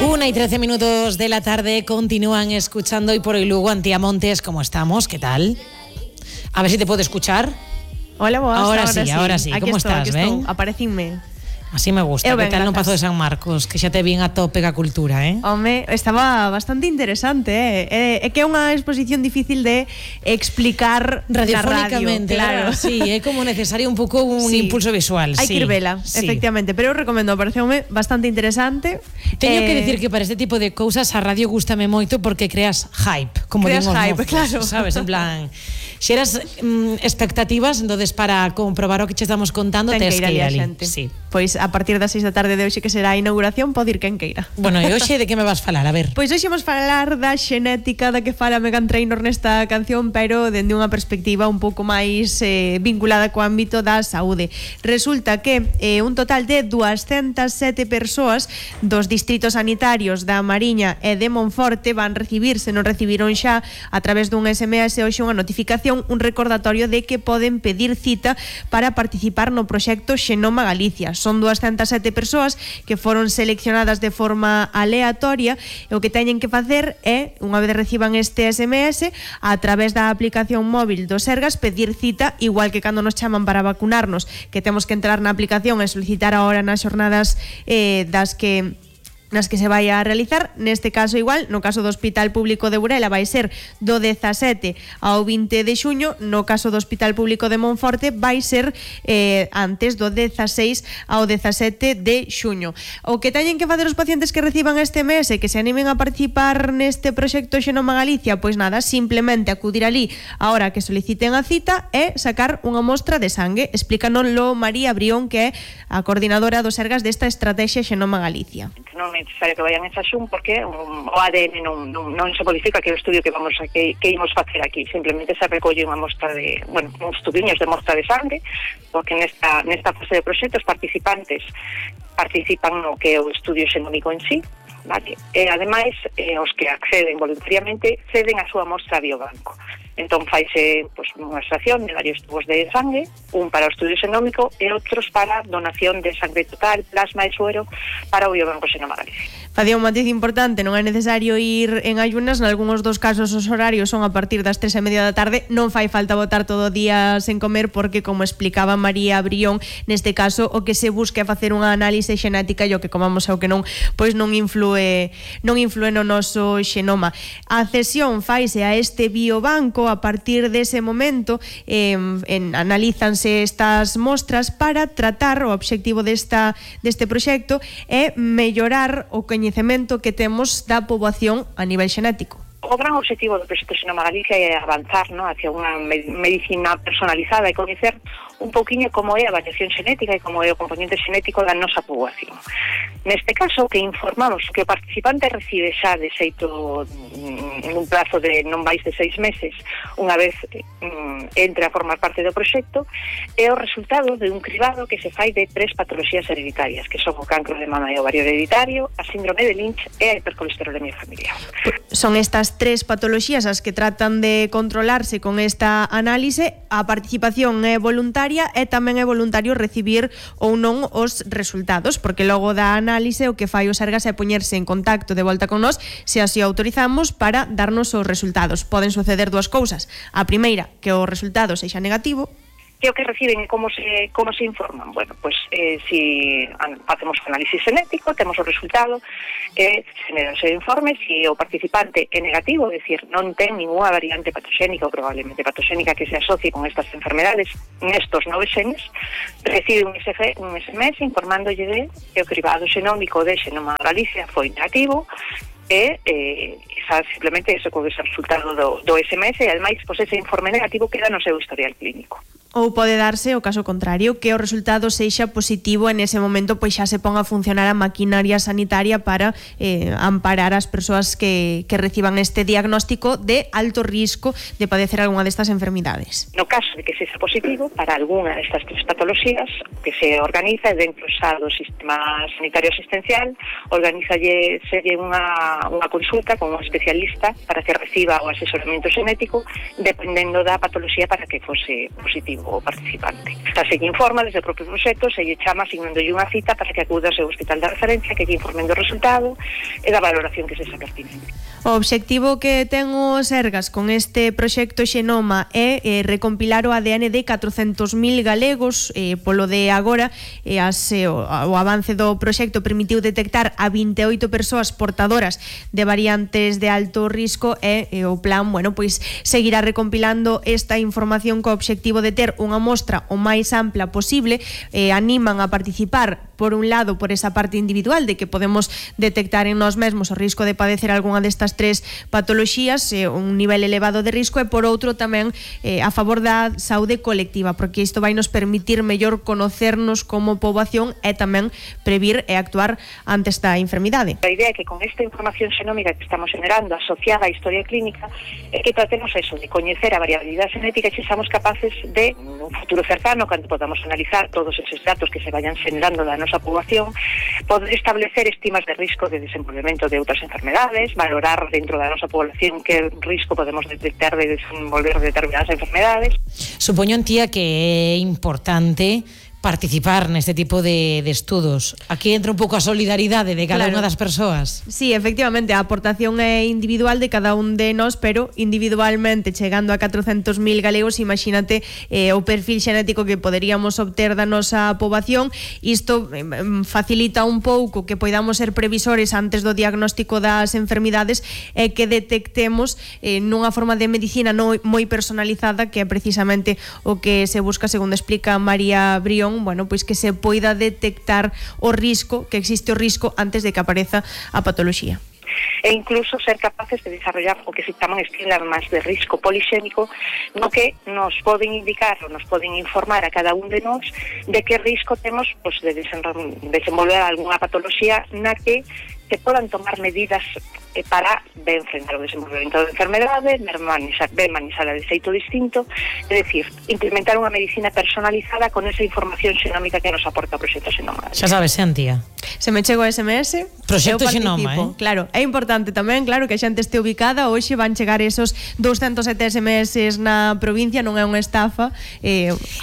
1:13 de la tarde, continúan escuchando Hoy por Hoy Lugo. Antía Montes, ¿cómo estamos? ¿Qué tal? A ver si te puedo escuchar. Hola, vos. Ahora sí. ¿Cómo estás? ¿Ven? Aparecinme. Así me gusta. ¿Qué tal no Pazo de San Marcos? Que xa te vin a tope a cultura, Home, estaba bastante interesante, É que é unha exposición difícil de explicar radiofónicamente, claro. Sí, é como necesario un pouco un impulso visual. Hai que ir vela, efectivamente. Pero eu recomendo, pareceume bastante interesante. Teño que decir que para este tipo de cousas a radio gústame moito porque creas hype, como creas digo, hype, claro. Sabes, en plan, xeras expectativas, entonces para comprobar o que che estamos contando tes que ir ali. Sí. Pois a partir das 6 da tarde de hoxe, que será a inauguración, pode ir quen queira. Bueno, e hoxe de que me vas falar? A ver. Pois hoxe vamos falar da xenética da que fala Meghan Trainor nesta canción, pero dende unha perspectiva un pouco máis vinculada co ámbito da saúde. Resulta que un total de 207 persoas dos distritos sanitarios da Mariña e de Monforte van recibir, se non recibiron xa, a través dun SMS hoxe unha notificación, un recordatorio de que poden pedir cita para participar no proxecto Xenoma Galicia. Son 207 persoas que foron seleccionadas de forma aleatoria e o que teñen que facer é, unha vez reciban este SMS, a través da aplicación móvil do Sergas, pedir cita, igual que cando nos chaman para vacunarnos, que temos que entrar na aplicación e solicitar a hora nas xornadas nas que se vai a realizar. Neste caso igual, no caso do Hospital Público de Burela vai ser do 17 ao 20 de xuño, no caso do Hospital Público de Monforte vai ser antes do 16 ao 17 de xuño. O que teñen que facer os pacientes que reciban este mes e que se animen a participar neste proxecto Xenoma Galicia, pois nada, simplemente acudir ali a hora que soliciten a cita e sacar unha mostra de sangue. Explícanoslo María Brión, que é a coordinadora do Sergas desta estrategia Xenoma Galicia. Non é necesario que vayan en xaxún porque o ADN non se modifica, que é o estudio que imos facer aquí. Simplemente se recolle unha mostra de, uns tubiños de mostra de sangue, porque nesta fase de proxecto os participantes participan no que é o estudio xenómico en sí, vale? E ademais os que acceden voluntariamente ceden a súa mostra a biobanco. Entón faise unha extracción de varios tubos de sangue, un para o estudio xenómico e outros para donación de sangre total, plasma e suero para o Biobanco Xenoma Galicia. Facía un matiz importante, non é necesario ir en ayunas, nalgúns dos casos os horarios son a partir das 3:30 da tarde, non fai falta botar todo o día sen comer porque, como explicaba María Brión, neste caso o que se busca é facer unha análise xenética e o que comamos é o que non influe no noso xenoma. A cesión faise a este biobanco. A partir dese momento analízanse estas mostras para tratar o obxectivo deste proxecto é mellorar o coñecemento que temos da poboación a nivel xenético. O gran objetivo do proxecto Xenoma Galicia é avanzar hacia unha medicina personalizada e coñecer un pouquiño como é a variación xenética e como é o componente xenético da nosa poboación. Neste caso, que informamos que o participante recibe xa de xeito en un plazo de non máis de 6 meses, unha vez entre a formar parte do proxecto, é o resultado de un cribado que se fai de 3 patoloxías hereditarias, que son o cancro de mama e ovario hereditario, a síndrome de Lynch e a hipercolesterolemia familiar. Son estas 3 patoloxías as que tratan de controlarse con esta análise. A participación é voluntaria e tamén é voluntario recibir ou non os resultados, porque logo da análise o que fai o Sergas é poñerse en contacto de volta con nós, se así autorizamos, para darnos os resultados. Poden suceder dúas cousas. A primeira, que o resultado sexa negativo. Que o que reciben e como se informan. Bueno, si facemos o análisis genético, temos o resultado, generan o informe. Si o participante é negativo, é dicir, non ten ninguna variante patoxénica ou probablemente patoxénica que se asocie con estas enfermedades nestos 9 xenes, recibe un SMS informándolle de que o cribado xenómico de Xenoma Galicia foi negativo e simplemente eso con ese resultado do SMS e ademais ese informe negativo queda no seu historial clínico. Ou pode darse o caso contrario, que o resultado sexa positivo e nese momento pois xa se ponga a funcionar a maquinaria sanitaria para amparar as persoas que reciban este diagnóstico de alto risco de padecer algunha destas enfermidades. No caso de que sexa positivo para algunha destas 3 patoloxías, que se organiza dentro xa do sistema sanitario asistencial, organizalle unha consulta con un especialista para que reciba o asesoramento xenético dependendo da patoloxía para que fose positivo. o participante. Se lle informa desde o propio proxecto, se lle chama asignándolle unha cita para que acuda ao seu hospital de referencia, que lle informen do resultado e da valoración que se xa pertinente. O obxectivo que ten o Sergas con este proxecto Xenoma é recompilar o ADN de 400.000 galegos. Polo de agora, o avance do proxecto permitiu detectar a 28 persoas portadoras de variantes de alto risco e o plan, pois seguirá recompilando esta información co obxectivo de ter unha mostra o máis ampla posible. Animan a participar, por un lado, por esa parte individual de que podemos detectar en nós mesmos o risco de padecer algunha destas tres patoloxías, un nivel elevado de risco, e por outro tamén a favor da saúde colectiva, porque isto vai nos permitir mellor conocernos como poboación e tamén previr e actuar ante esta enfermidade. A idea é que con esta información xenómica que estamos generando asociada á historia clínica é que tratemos eso, de coñecer a variabilidade xenética e sexamos capaces de, nun futuro cercano, cando podamos analizar todos esos datos que se vayan generando da nosa poboación, poder establecer estimas de risco de desenvolvemento de outras enfermedades, valorar dentro da nosa población que risco podemos detectar de desenvolver determinadas enfermedades. Supoño, Antía, que é importante participar neste tipo de estudos. Aquí entra un pouco a solidaridade de cada unha das persoas. Sí, efectivamente, a aportación é individual de cada un de nós, pero individualmente chegando a 400.000 galegos, imagínate o perfil xenético que poderíamos obter da nosa poboación. Isto facilita un pouco que poidamos ser previsores antes do diagnóstico das enfermidades e que detectemos nunha forma de medicina moi personalizada, que é precisamente o que se busca, segundo explica María Brión, pois que se poida detectar o risco, que existe o risco antes de que apareza a patoloxía. E incluso ser capaces de desarrollar o que se chaman esquemas de risco polixémico, no que nos poden indicar ou nos poden informar a cada un de nós de que risco temos de desenvolver algunha patoloxía na que se podan tomar medidas para ben frenar o desenvolvemento da enfermedade, ben manixala de xeito distinto, é dicir, implementar unha medicina personalizada con esa información xenómica que nos aporta o proxecto Xenoma. Xa sabes, Antía. Se me chego o SMS, proxecto Xenoma, Claro, é importante tamén, claro, que a xente este ubicada. Hoxe van chegar esos 207 SMS na provincia, non é unha estafa.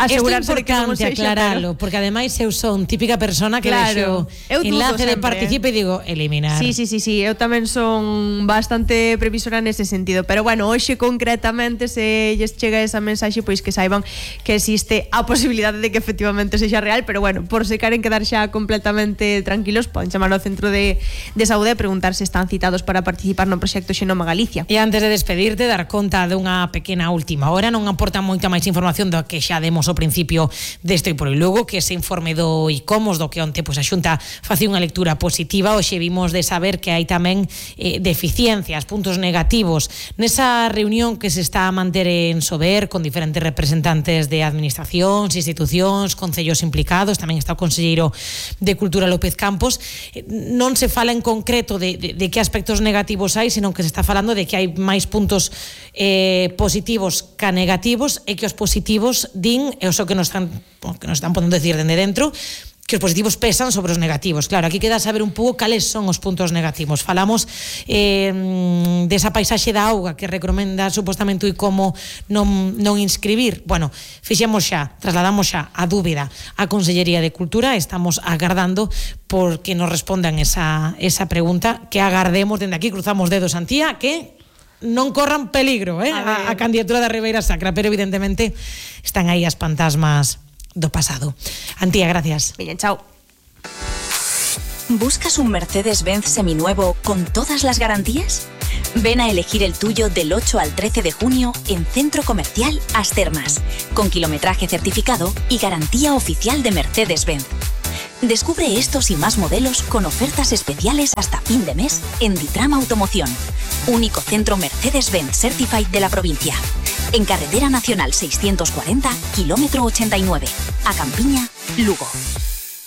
Asegurarse de que non sexa, aclaralo, porque ademais eu son típica persona que vexo enlace de participe e digo eliminar. Sí, eu tamén son bastante previsora nese sentido, pero hoxe concretamente, se lles chega esa mensaxe, pois que saiban que existe a posibilidade de que efectivamente sexa real, pero por se queren quedar xa completamente tranquilos, poden chamar ao Centro de Saúde e preguntar se están citados para participar no proxecto Xenoma Galicia. E antes de despedirte, dar conta dunha pequena última hora. Non aporta moita máis información do que xa demos ao principio deste por Lugo, que ese informe do ICOMOS, do que onte a Xunta facía unha lectura positiva. Hoxe vimos de saber que hai tamén deficiencias, puntos negativos nesa reunión que se está a manter en Sober con diferentes representantes de administracións, institucións, concellos implicados. Tamén está o conselleiro de Cultura, López Campos. Non se fala en concreto de que aspectos negativos hai, senón que se está falando de que hai máis puntos positivos que negativos, e que os positivos din, e o que nos están podendo decir dende dentro, que os positivos pesan sobre os negativos. Claro, aquí queda saber un pouco cales son os puntos negativos. Falamos desa paisaxe da auga que recomenda supostamente o ICOMO non inscribir. Trasladamos xa a dúbida á Consellería de Cultura. Estamos agardando por que nos respondan esa pregunta, que agardemos dende aquí, cruzamos dedos, Antía, que non corran peligro a candidatura da Ribeira Sacra, pero evidentemente están aí as fantasmas do pasado. Antía, gracias. Bien, chao. ¿Buscas un Mercedes-Benz seminuevo con todas las garantías? Ven a elegir el tuyo del 8 al 13 de junio en Centro Comercial Astermas, con kilometraje certificado y garantía oficial de Mercedes-Benz. Descubre estos y más modelos con ofertas especiales hasta fin de mes en Ditrama Automoción, único centro Mercedes-Benz Certified de la provincia. En Carretera Nacional 640, kilómetro 89, a Campiña, Lugo.